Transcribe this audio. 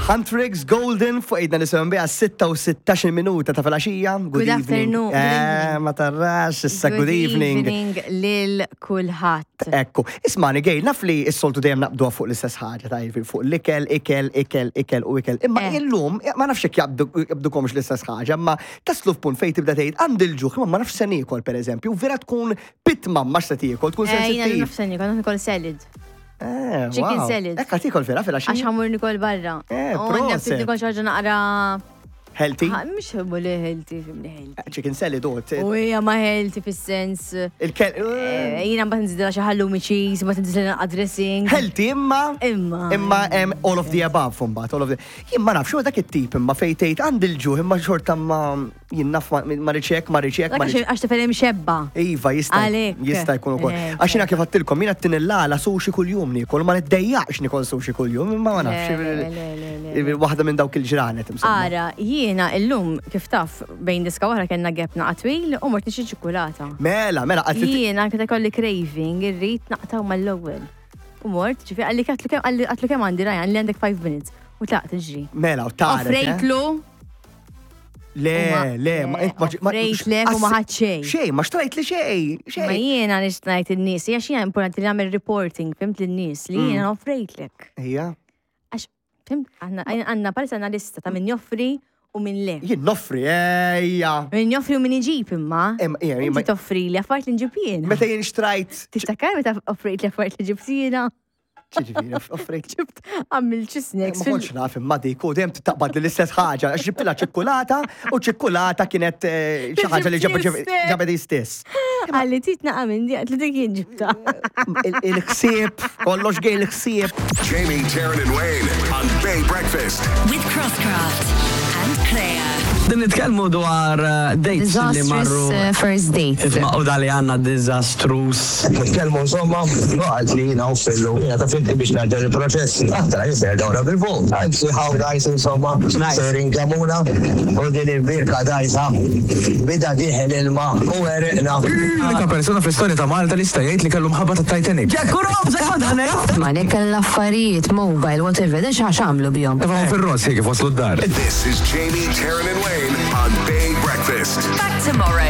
Huntrix Golden fuq idna nisimgħu biha 6 u minuta ta' filgħaxija. Good, evening. afternoon. Good Eh, evening. ma tarrax, issa good, evening. evening lil kulħadd. Ekku, ismani gej, naf li s-soltu dejjem naqbdu fuq l-istess ħaġa, ta' jiġifieri fuq l-ikel, ikel, ikel, ikel u ikel. Imma illum, ma nafx jekk jaqbdukomx l-istess ħaġa, imma taslu f'punt fejn tibda tgħid għandi l-ġuħ, imma ma nafx se niekol pereżempju, vera tkun pitma ma se tiekol, tkun Jiena sensittiv. naf se niekol, niekol salad. Chicken Wow. salad. Ekka tiekol vera Għax fil ħa mmur niekol barra. U għandna ftit Proset. niekol xi ħaġa naqra. Healthy? Mhux li healthy, fimni healthy. Chicken salad u U hija ma healthy fis-sens. Il-kel. Jiena mbagħad nżidilha xi halloumi cheese, mbagħad nżidilha naqra dressing. Healthy imma. Imma. Imma hemm all of the above mbagħad, all of the. Jien ma nafx dak it-tip imma fejn tgħid għandi l-ġuħ imma xorta ma jien naf ma riċek, ma riċek, ma Dak riċek. għax tifel imxebba. Iva, jista' Għalhekk. jista' jkun ukoll. Għax jiena kif għattilkom, jiena t-tinillala sushi kuljum niekol, ma niddejjaqx nikol sushi kuljum, imma ma nafx. Le, le, le, le, Waħda minn dawk il-ġranet insomma. Ara, jiena illum kif taf bejn diska oħra kellna gap naqa twil u mort nixtri ċikulata. Mela, mela, għatli Jiena kif ikolli craving irrid naqtaw mal-ewwel. U mort, ġifieri qalli għatlu kemm qalli għatlu kemm għandi Ryan li għandek 5 minutes. U tlaqt iġri. Mela, u tara. Offrejtlu, Le, le, ma int ma offrejtlek u ma ħadt xejn. Xejn, ma xtrajt li xejn, Ma xejn. jiena nix ngħid in-nies, hija xi importanti li nagħmel reporting, fimt lin-nies li jiena offrejtlek. Ija. Għax, fimt, aħna għandna palissa għandna lista ta' min joffri u min le. Jien noffri, ejja. Min joffri u min iġib imma. Ija, Inti toffri li affarijiet li nġib jiena. Meta jien xtrajt. Tiftakar meta offrejt li affarijiet li ġibt jiena? Ġifieri, offrejt. Ġibt għamilt xi snacks. Ma kontx naf imma dik u dejjem taqbad li l-istess ħaġa, għax ġibtilha ċikkulata u ċikkulata kienet xi ħaġa li ġabet hi stess. Għalli tit naqa minn di, għatli dik jien ġibta. Il-ħsieb, kollox gej il-ħsieb. Jamie, Taryn, and Wayne on Bay Breakfast. With Crosscraft and Claire. Din nitkellmu dwar dates li marru. Disastrous first date. Isma' u dali għandna disastrous. Nitkellmu insomma, għalt li jiena u fillu, jiena ta' finti biex naġġel il-proċess. Aħna jisir dawra bil-fuq. Għanzi how nice insomma, sejrin kamuna, u din il-birka dajsa, bida diħel ilma u għeriqna. L-unika persuna fl-istorja ta' Malta li sta jgħid li kellu mħabba ta' Titanic. Ma li kell affarijiet, mobile, whatever, dan xax għamlu bihom. Tefgħu fir-ross kif waslu d-dar. This is Jamie, Taryn, and Wayne on Bay Breakfast. Back tomorrow.